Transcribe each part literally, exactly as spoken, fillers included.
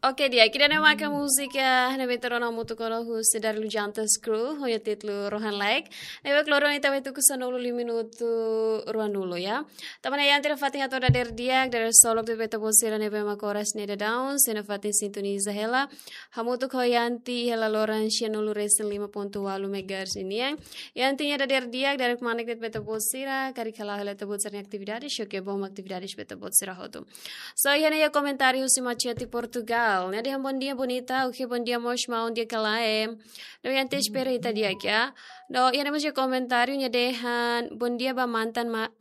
Oke, di'ak, ida-ne'e maka múzika ne'ebé ita rona hamutuk ona husi Darliu Jantas Crew, ho nia títulu Rohan Laek. Ne'ebé kloro ita bele tuku sanulu lima minutu ruanulu, ya. Tanba ne'e Yanti nafatin hato'o dadeer di'ak, dadeer solok de'it ba ita-boot sira ne'ebé mak oras ne'e daudaun sei nafatin sintoniza hela. Hamutuk ho Yanti hela loron sianulu resin lima pontu ualu megahertz nian. Yanti nia dadeer di'ak, dadeer kmanek de'it ba ita-boot sira, karik hala'o hela ita-boot sira-nia atividade, oke, bom atividade ba ita-boot sira hotu. So, iha ne'e iha komentáriu husi Matias de Portugal. Nia dehan bom dia bonita, oke, bom dia mós maun di'ak ka lae. No Yanti espera ita di'ak, ya. No, iha ne'e mós iha komentáriu nia dehan bom dia ba mantan ma-,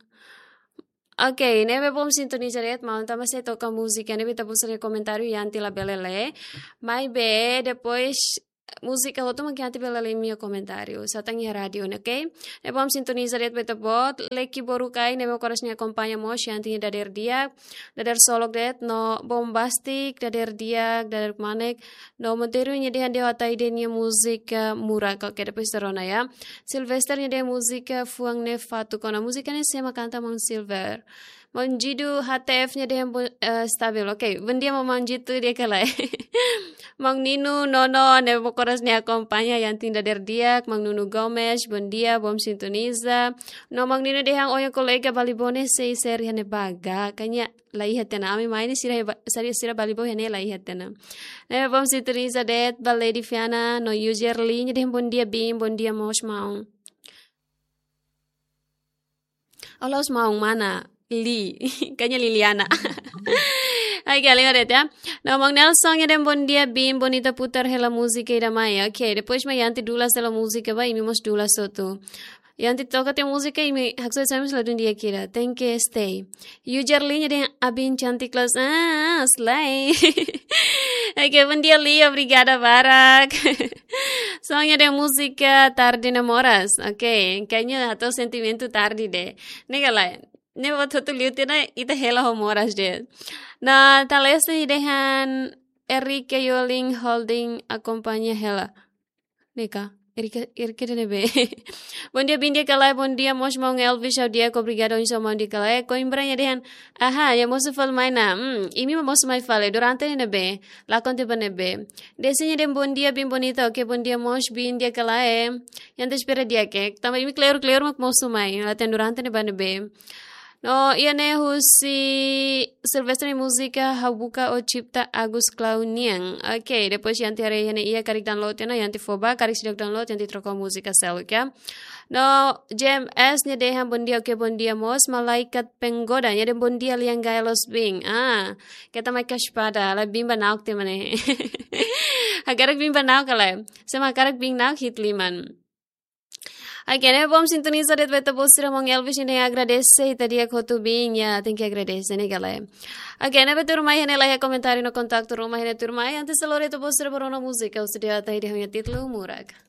oke, ne'ebé bom sintoniza de'it, maun, tanba sei toka múzika, ne'ebé ita-boot sira-nia komentáriu Yanti labele lee. Maibé, depois múzika hotu mak Yanti bele lee imi-nia komentáriu. Só tan iha rádiu ne'e, oke? Ne'ebé bom sintoniza de'it ba ita-boot, Leki Borukai, ne'ebé mak oras ne'e akompaña mós Yanti nia dadeer di'ak, dadeer solok de'it, no Bombastic, dadeer di'ak, dadeer kmanek, no Monteiro nia dehan ha'u hatene nia múzika Murak, oke, depois ita rona, ya. Sylvester nia dehan múzika Fuan Ne'e Fatuk ona, múzika ne'e sé mak kanta, maun Silver? Maun Jidu H T F nia dehan bo-, eh, stabil. Oke, bom dia maun Jidu di'ak ka lae. Maun Ninu, Nono, ne'ebé mak oras ne'e akompaña Yanti nia dadeer di'ak, maun Nunu Gomes, bom dia, bom sintoniza. No maun Ninu dehan ohin kolega Balibo ne'e sei seri iha ne'ebá ga, kayaknya la iha tiha ona. Ami mai ne'e sira ba-, sira, sira Balibo iha ne'e la iha tiha ona. Ne'ebé bom sintoniza de'it ba Lady Fiana, no user Li, nia dehan bom dia biin, bom dia mós maun. Olá, os maun, mana? Li, kayaknya Liliana. Ai, que alegre, ya. No, maun Nelson, nia dehan bom dia biin, bonita putar hela múzika ida mai. Oke, depois mai Yanti dulas hela múzika ba, imi mós dulas hotu. Yanti toka tiha múzika, imi haksoit sai mós ladún di'ak ida. Tenke stay. User Li nia dehan abin cantik kelas. Ah, slay. Oke, bom dia Li, obrigada barak. Song nia dehan múzika Tarde Ne'e Moras. Oke, kayaknya hato'o sentimentu tarde de'it. Ne'e ka lae, ne'e buat hotu liu tiha ona ita hela ho moras de'it. No, Talesa nia dehan Erika Yoling Holding akompaña hela. Ne'e ka, Erika, Erika dehan ne'ebé? Bom dia biin di'ak ka lae, bom dia mós maun Elvis, ha'u di'ak, obrigada, oinsá maun di'ak ka lae. Coimbra nia dehan, aha, nia mosu fali mai ona. Hmm, imi mak mosu mai fali, durante ne'e ne'ebé, lakon tiha ba ne'ebé. Desi nia dehan bom dia biin bonita, oke, bom dia mós biin di'ak ka lae. Yanti espera di'ak, tanba imi kleur-kleur mak mosu mai, la'ós durante ne'e ba ne'ebé. No, iha ne'e husi Sylvester nia múzika Ha'u Buka Ó Cipta Agus Clown nian. Oke, depois Yanti haree iha ne'e iha karik download tiha ona, Yanti fó ba, karik seidauk download, Yanti troka múzika seluk, ya. No, J M S nia dehan bom dia, oke, bom dia mós, Malaikat Penggoda, nia dehan bom dia lian gai los biin. Ah, keta mai ka espada, la biin ba na'ok tiha mak ne'e. Hakarak biin ba na'ok ka lae. Sé mak hakarak biin na'ok hi'it liman. Oke, ne'ebé bom sintoniza de'it ba ita-boot sira, maun Elvis nia dehan agradese ita di'ak hotu biin, ya, tenke agradese, ne'e ka lae. Oke, ne'ebé tuirmai iha ne'e laiha komentáriu no kontaktu ruma iha ne'e tuirmai, antes de lori ita-boot sira ba rona múzika, ha'u sei dehan ida-ne'e ho nia títulu Murak.